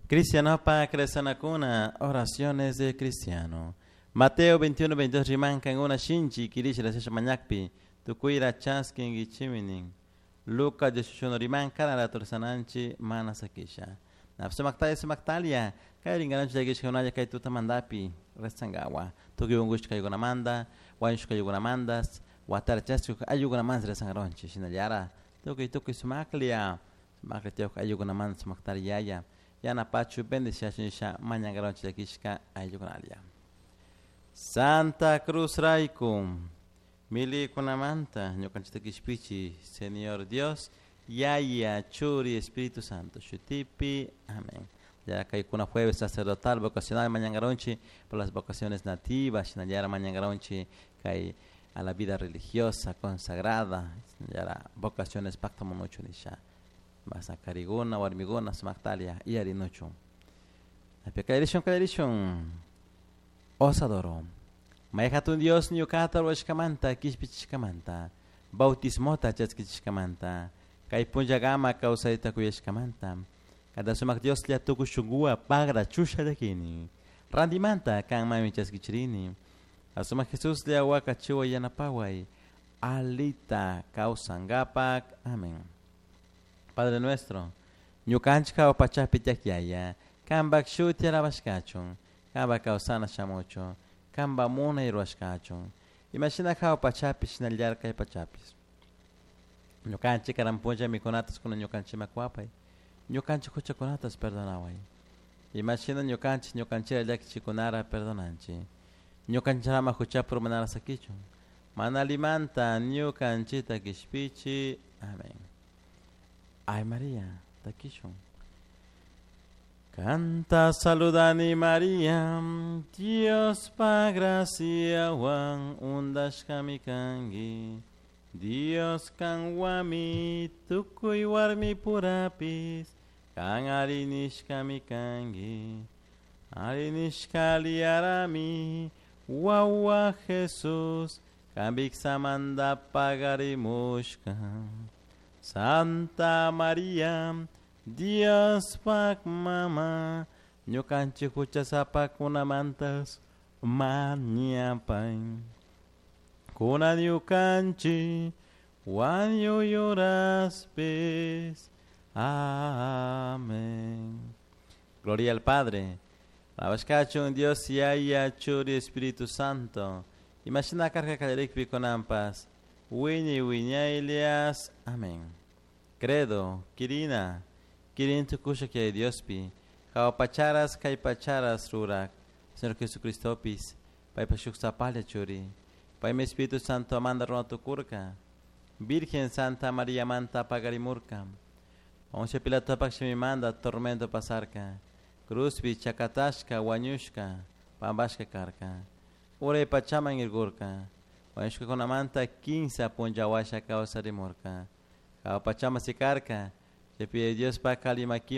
Cristianopak rezanakuna, oraciones de cristiano. Mateo 21, 22 riman kankuna shinchi kirisha rezasha mañakpi tukuyra chaskinkichimi nin. Lucas 18 riman cada rato rezananchi mana sakisha. Sumaktalla sumaktalia kay ringaranchi llakishkakunalla kay tutamantapi rezankawa. Tukuy unkushkaykunamanta, wañushkaykunamantas, watara chaskik ayllukunamanta rezankaronchik shinallara tukuy tukuy sumaklla sumaklla tiyak ayllukunamanta sumaktari yaya yanapachu bendiciachun nisha mañankaronchik llakishka ayllukunalla. Santa Cruz rayku milikunamanta ñukanchikta kishpichi Señor Dios Yaya Churi Espíritu Santo shutipi. Amén. Ya kaykuna jueves sacerdotal vocacional mañankaronchik por las vocaciones nativas shinallara mañankaronchik kay a la vida religiosa consagrada shinallara vocaciones paktamunuchu nisha masa kariguna warmiguna sumaktalia yarinuchun. Kallarishun kallarishun Osadoro. May hatun Dios ñukata rurashkamanta kishpichishkamanta bautismota chaskichishkamanta kay punllakama kawsayta kuyashkamanta kada sumak Dioslla tukuy shunkuwan pagra chusha llakini rantimanta kanmanmi chaskichirini sumak Jesuslla wakachiway yanapaway alita kawsankapak. Amén. Padre nuestro, ñukanchik hawa pachapi tiyak yaya, kanpak shuti alabashkachun, kanpak kawsana shamuchun, kanpak munay rurashkachun, imashina hawa pachapi shinallara kay pachapish. Ñukanchik karan punlla mikunatas kunan ñukanchikman kuwapay, ñukanchik huchakunatas perdonaway. Imashina ñukanchik ñukanchikta llakichikunara perdonanchik. Ñukanchikama huchapi urmanara sakichun. Mana allimanta ñukanchikta kishpichi. Amén. Ay María, takishun. Kanta saludani María, Diospa graciawan undashkami kanki. Dios kanwanmi tukuy warmipurapis kan arinishkami kanki. Arinishka aliyarami wawa Jesús kan viksamanta pagarimushka. Santa María, Diospak mama, ñukanchik huchasapakunamantas mañapay. Kunan ñukanchik wañuy horaspis. Amén. Gloria al Padre. Alabashkachun Dios Yaya Churi Espíritu Santo. Imashina karka kallarikpi kunanpas. Wiñay wiñaylias. Amén. Credo, Kirina, Kirin tukusha kay Diospi, hawa pacharas kay pacharas rurak, Señor Jesucristopis, paypa shuk sapalla churi, paymi Espíritu Santo manda runa tukurka, Virgen Santa María manta pagarimurka, Poncio Pilatopak shimimanta tormento pasarka, cruzpi chakatashka wañushka, pampashka karka, uray pachaman irkurka, wañushkakunamanta kinsa punlla washa kawsarimurka, hawa pachaman sikarka, chaypi Diospak alli makiman.